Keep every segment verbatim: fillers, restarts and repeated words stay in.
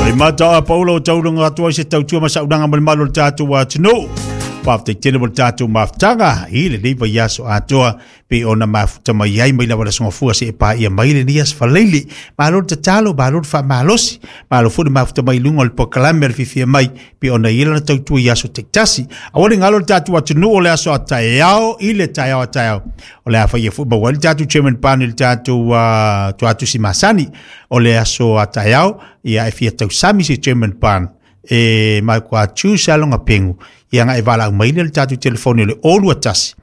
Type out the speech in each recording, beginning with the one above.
Le mata a Paulo o taulunga atu ai se tautua ma saunaga ma le malu o le tatou atunuu. Faafetai tele mo le tatou mafutaga i lenei vaiaso atoa pe ona mafuta mai ai mai lava le aso Gafua seia paia mai lenei aso Faraile. Malo le tatalo, malo le faamalosi, malo foi le mafuta mai i luga o le polokalame a le Fiafia Mai pe ona i ai lana tautua i aso taitasi. Aua le galo le tatou atunuu o le aso a taeao i le taeao a taeao. O le a faia foi maua ai le tatou Chairman Pan i le tatou uh, tuatusi masani o le aso a taeao, ia e fia tausami se Chairman Pan e mai kua tu se alonga pengu ia nga e vala mai le tatou telefoni o le olua tasi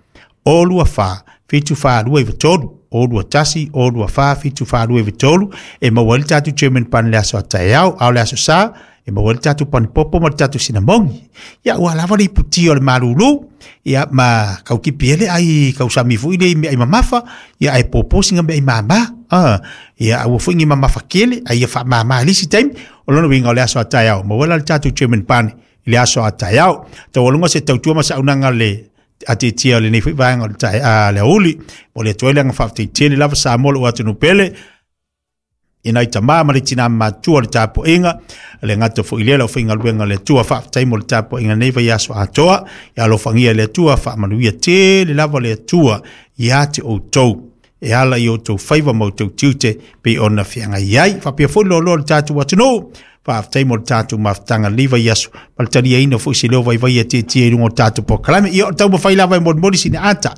olua fa fitu fa lua i tolu olua tasi olua fa fitu fa lua i tolu e maua ai le tatou Chairman Pan le aso a taeao. A o le aso Sa e maua ai le tatou panipopo ma le tatou sinamogi. Ia ua lava le iputia o le malulu ia ma kaukipi ele ai kausami foi le mea i mamafa ia ai popo singa mea i mama ah ia ua foi ni mamafa kele ai ia faamama lisi taimi. O lona uiga o le aso a taeao maua la le tatou Chairman Pan i le aso a taeao. Taualuga se tautua ma saunaga le atietia o lenei foi vaega o le tae a le auli o le atu ai le aga faafetai tele lava Samoa lou atunuu pele i nai tamā ma le tinā matua o le tapuaiga le gata foi lea lau faigaluega le Atua. Faafetai mo le tapuaiga nei vaiaso atoa. Ia alofagia e le Atua, faamanuia tele lava le Atua ia te outou e ala i outou faiva ma outou tiute pei ona feagai ai faapea foi loaloa le tatou atunuu. Faafetai mo le tatou mafutaga lenei vaiaso ma le taliaina foi se leo vaivai e tietie i luga o le tatou polokalame. Ia o le taumafai lava e molimoli sina ata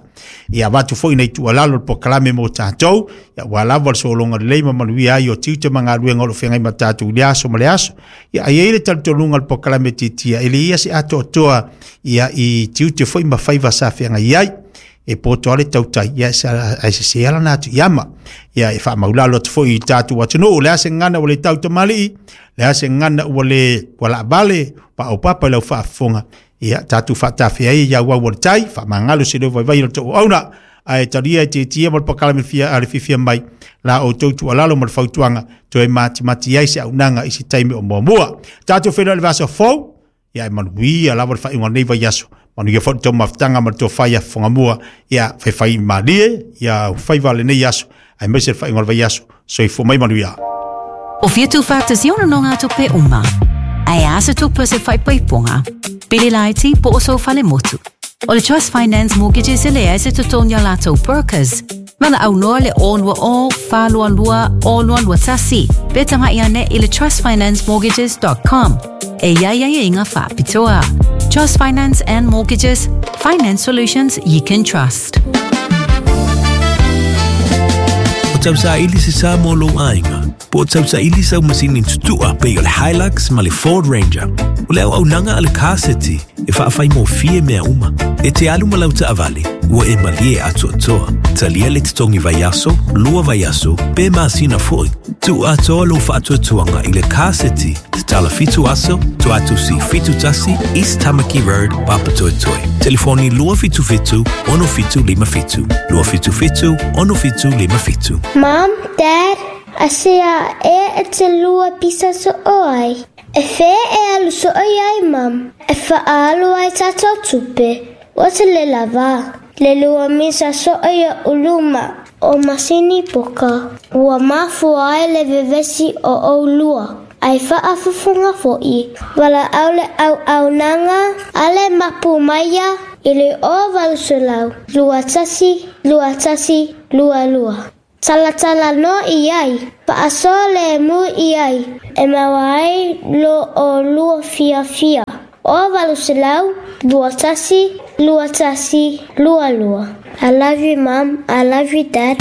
ia avatu foi nai tuualalo le polokalame mo tatou ia ua lava le sologa lelei ma manuia ai o tiute ma galuega o lo o feagai ma tatou i le aso ma le aso. Ia ai ai le talitonuga o le polokalame tietia e le ia se atoatoa ia i tiute foi ma faiva sa feagai ai e poto ale tautai ia ai se se ala na atu iama ia e faamaulalo atu foi i tatou atunuu le a se gagana ua le tautamalii le a se gagana ua le ua laavale paopapa i lau faafofoga ia tatou faatafea ai ia auau o le tai faamagalo se leo vaivai o le touauauna ae talia e tietie ma le polokalame fia a le Fiafia Mai la outou tuualalo ma le fautuaga toe matimati ai se aunaga i se taimi o muamua. Tatou feiloai le vaiaso fou. Ia e manuia lava le faaiuga o lenei vaiaso. Manuia foi le tou mafutaga ma le tofa ia fofogamua ia faifai malie ia faiva lenei aso aemaise le faaiuga o le vaiaso. Soifua mai manuia. O fia tuufaatasia o nonogatupe uma. Ae a se tupe o se faaipoipoga, pili laiti po o sou falemotu. O le Trust Finance Mortgages e leai se totogi a latou brokers. Valaau loa le o lua o, fa lua lua, o lua lua tasi, pe tagai ane i le trust finance mortgages dot com. E i ai aiaiga faapitoa. Trust Finance and Mortgages, finance solutions you can trust. O tausaili se sa mo lou aiga, po o tausaili sau masini tutua pei o le Hilux ma le Ford Ranger. O le auaunaga a le Car City e faafaigofie mea uma. E te alu ma lau taavale, ua e malie atoatoa. Talia le totogi vaiaso, lua vaiaso, pe masina foi. Tuu atoa lou faatuatuaga i le Car City, tatala fitu aso, Tuatusi fitu tasi, East Tamaki Road, Papatoetoe. Telefoni lua fitu fitu, ono fitu lima fitu. Lua fitu fitu, ono fitu lima fitu. Mom, Dad, asia e e te lua pisa so oai. E fe e alu so oi ai, Mom. E faalu ai tatou tupe. Ua te le lava. Le lua misa so oi o uluma o masini poka. Ua mafua ai le vevesi o oulua. Ai faafufunga foi. Valaau le auaunaga a le mapu maia i le o valu selau. Lua tasi, lua tasi, lua lua. Talatala no i ai. Faaso le mu i ai. E maua ai lo o lua fiafia. O valu selau, lua tasi, lua tasi, lua lua. I love you, Mom. I love you, Dad.